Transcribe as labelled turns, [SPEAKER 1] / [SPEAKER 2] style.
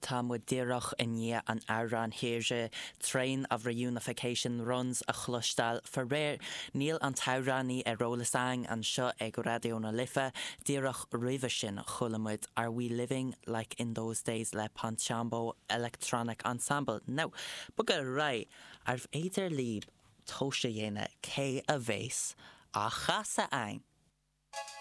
[SPEAKER 1] Tá muid díreach i ndiaidh an amhrán thíre 'Train of Reunification Runs' a chloisteáil. Faraor, níl an t-amhránaí ar eolas a'ainn anseo ag Raidió na Life. Díreach roimhe sin, chuala muid 'Are We Living Like in Those Days' le Ponchambo Electronic Ensemble. Now, bogadh ar aghaidh, arbh fhéidir libh tomhas a dhéanamh cé a bhéas á chasadh a'ainn?